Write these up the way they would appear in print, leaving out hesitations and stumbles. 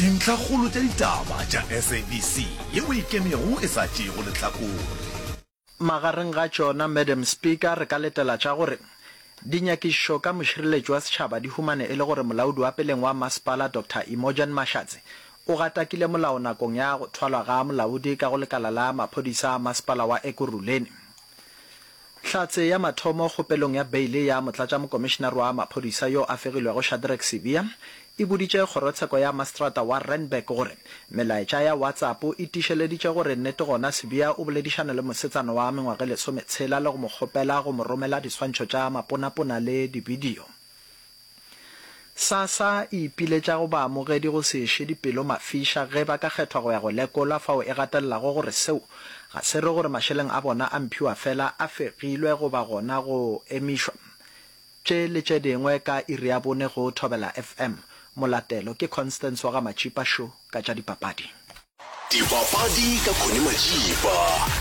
Dintlhakgolo tša ditaba tša SABC yeo e ikemego e sa tšeego lehlakore. Magareng ga tšona, Madam Speaker, re ka letela tša gore dinyakišišo ka mošireletši wa setšhaba di humane e le gore molaodi wa peleng wa masepala Doctor Imogen Mashatse o gatakile molao nakong ya go thwalwa ga molaodi ka go lekala la maphodisa a masepala wa Ekurhuleni. Hlatse ya mathomo kgopelong ya beile ya motlatšamokomišenare wa maphodisa yo a fegilwego Shadrack Sibiya e boditše kgorotsheko ya maseterata wa Randburg gore melaetša ya WhatsApp e tiišeleditše gore nnete gona Sibiya o boledišane le mosetsana wa mengwaga e lesometshela le go mo kgopela go mo romela diswantšho tša maponapona le dibidio. SASSA e ipiletša go baamogedi go se eše dipelo mafiša ge ba ka kgethwa go ya go lekola fao e gatelelago gore seo ga se re gore mašeleng a bona a mphiwafela a fegilwe goba gona go emišwa. Tše le tše dingwe ka iri ya bone go Thobela FM. Molatelo ke Constance wa ga Matšipa Sho ka tša dipapadi. Dipapadi ka Connie Matšipa,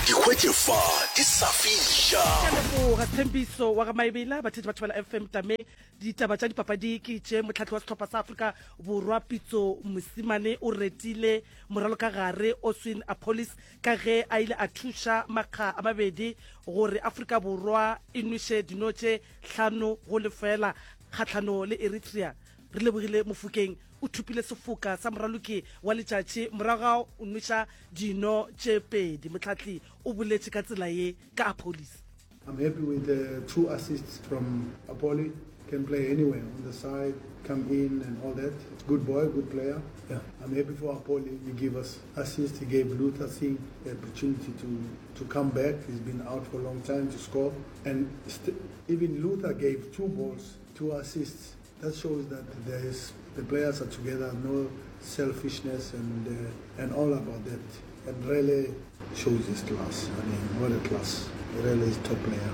di hwetše fa di sa fiša. Ke a leboga Thembiso wa ga Maebela, batheetši ba Thobela FM Tame. Ditaba tša dipapadi ke tše, Mohlahli wa sehlopha sa Afrika Borwa Pitso Mosimane o retile moralokagare Oswin Appollis ka ge a ile a thuša makga a mabedi gore Afrika Borwa e nweše dino tše hlano go lefela kgahlano le Eritrea. Re lebogile Mofokeng o thopile sefoka sa moraloki wa letšatši morago ga go nweša dino tše pedi. Mohlahli o boletše ka tsela ye ka Appollis. I'm happy with the two assists from Appolli, can play anywhere on the side, come in and all that. Good boy, good player. Yeah, I'm happy for Appolli. He gave us assist, he gave Luther Singh the opportunity to, to come back. He's been out for a long time to score. And even Luther gave two balls, two assists. That shows that there is the players are together, no selfishness and uh, and all about that. And really shows his class. I mean, what a class. Really is top player.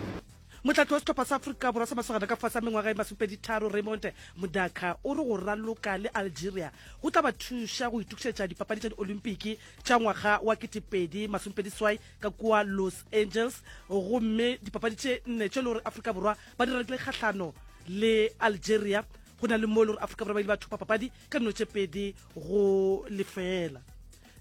Motlatsi wa sehlopha sa Afrika Borwa sa masogana ka fase a mengwaga e masomepeditharo Raymond Mdaka o re go raloka le Algeria go tla ba thuša go itokišetša dipapadi tša diolimpiki tša ngwaga wa 2027 ka kua Los Angeles gomme dipapadi tše nne tše le gore Afrika Borwa ba di ralokile kgahlano le Algeria go na le mo e le gore Afrika Borwa ba ile ba thopa papadi ka dino tše pedi go lefeela.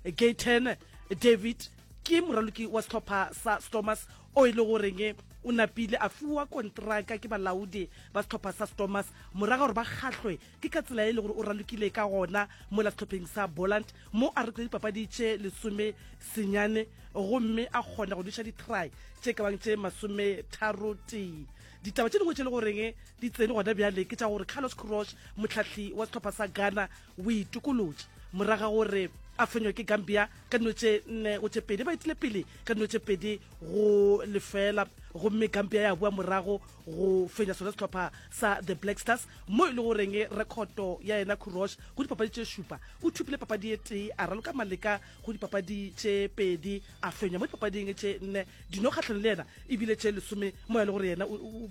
Gayton David ke moraloki wa sehlopha sa Stormers o e le goreng o napile a fiwa kontraka ke balaodi ba sehlopha sa Stormers morago gore ba kgahlwe ke ka tsela e le gore o ralokile ka gona mola sehlopheng sa Boland mo a rekile dipapadi tše lesome senyane gomme a kgona go nweša di-try tše ka bang tše masometharo tee. Ditaba tše dingwe tše le goreng di tsene gona bjale ke tša gore Carlos Queiroz, mohlahli wa sehlopha sa Ghana, o itokolotše morago ga gore a fenywe ke Gambia ka dino tše nne go tše pedi. Ba etile pele ka dino tše pedi go lefela gomme Gambia ya boa morago go fenya sona sehlopha sa The Black Stars mo e le goreng rekhoto ya yena Queiroz go dipapadi tše šupa o thopile papadi e tee a raloka maleka go dipapadi tše pedi a fenywa mo dipapading tše nne dino kgahlano le yena e bile tše lesome mo e le gore yena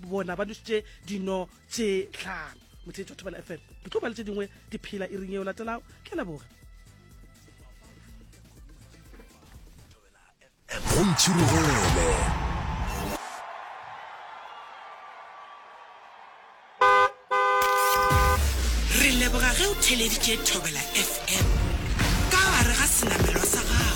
bona ba nwešitše dino tše tlhano. Motheetši wa Thobela FM, ke tlo ba le tše dingwe di phela iring yeo latelago. Ke a leboga. Go ntšhirogele. Re leboga ge o theleditše Thobela FM ka gare ga senamelwa sa gago.